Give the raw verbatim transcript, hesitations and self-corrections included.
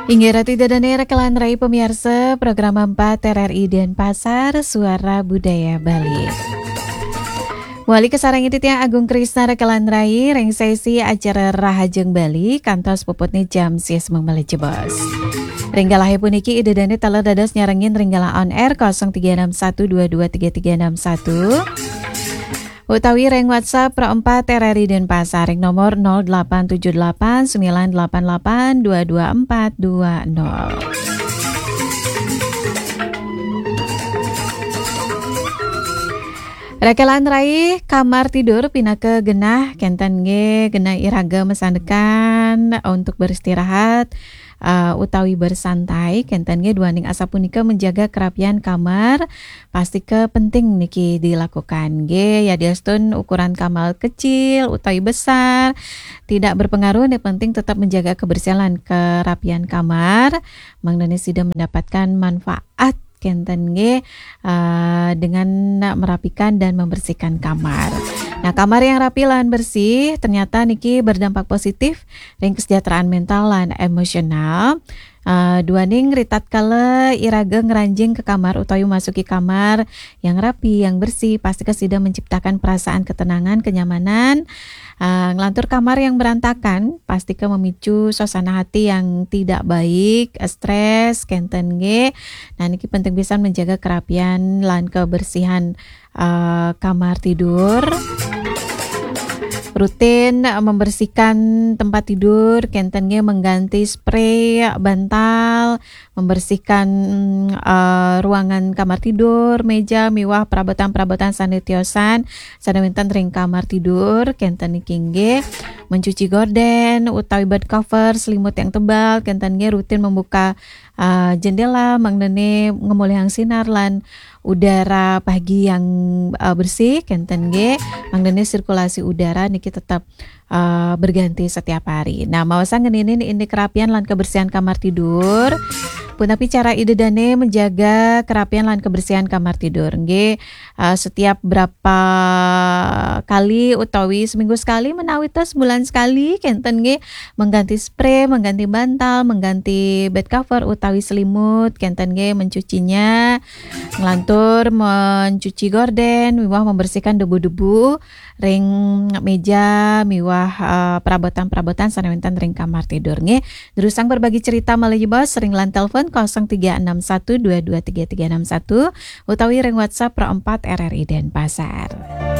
Inggih ratu ida dané rekan rai pamiarsa program empat R R I Denpasar, Suara Budaya Bali. Wali kasarengin titiang Agung Krisna rekan rai ring sesi acara Rahajeng Bali kantos puputné jam sies malih jebos. Ring galahé puniki ida dané taler dados nyarengin ring galah on air kosong tiga enam satu dua dua tiga tiga enam satu. Utawi ring WhatsApp Pro empat R R I Denpasar ring nomor nol delapan tujuh delapan sembilan delapan delapan dua dua empat dua nol. Rekan rai, kamar tidur pinaka genah, kénten nggih, genah iraga masandekan untuk beristirahat, eh, utawi bersantai, kénten nggih, duaning asapunika menjaga kerapian kamar, pastika penting niki dilakukan nggih. Yadiastun ukuran kamar kecil utawi besar tidak berpengaruh, yang penting tetap menjaga kebersihan lan kerapian kamar, mangdané sida mendapatkan manfaat, kénten nggih, eh, dengan merapikan dan membersihkan kamar. Nah, kamar yang rapi lan bersih ternyata niki berdampak positif ring kesejahteraan mental lan emosional. Eh, duaning ritatkala iraga ngranjing ka kamar utawi masuki kamar yang rapi, yang bersih, pastika sida menciptakan perasaan ketenangan, kenyamanan. Eh, nglantur kamar yang berantakan, pastika memicu suasana hati yang tidak baik, stres, kénten nggih. Nah, niki penting pisan menjaga kerapian lan kebersihan, eh, kamar tidur. Rutin, eh, membersihkan tempat tidur, kénten nggih, mengganti spray, bantal, membersihkan, eh, ruangan kamar tidur, meja, miwah perabotan-perabotan sané tiosan sané wénten ring kamar tidur, kénten niki nggih. Mencuci gorden utawi bed cover, selimut yang tebal, kénten nggih, rutin membuka, eh, jendela, mangdané ngamolihang sinar lan udara pagi yang, eh, bersih, kénten nggih, mangdané sirkulasi udara niki tetap, eh, berganti setiap hari. Nah, maosang ngeninin indik kerapian lan kebersihan kamar tidur. Punapi cara ida dané menjaga kerapian lan kebersihan kamar tidur? Nggih, eh, setiap berapa kali utawi seminggu sekali menawi tos sebulan sekali, kénten nggih, mengganti spray, mengganti bantal, mengganti bed cover utawi selimut, kénten nggih, mencucinya, nglantur mencuci gorden, miwah membersihkan debu-debu ring meja, miwah, eh, perabotan-perabotan sané wénten ring kamar tidur nggih. Durusang berbagi cerita malih jebos ring line telepon kosong tiga enam satu dua dua tiga tiga enam satu utawi ring WhatsApp Pro empat R R I Denpasar.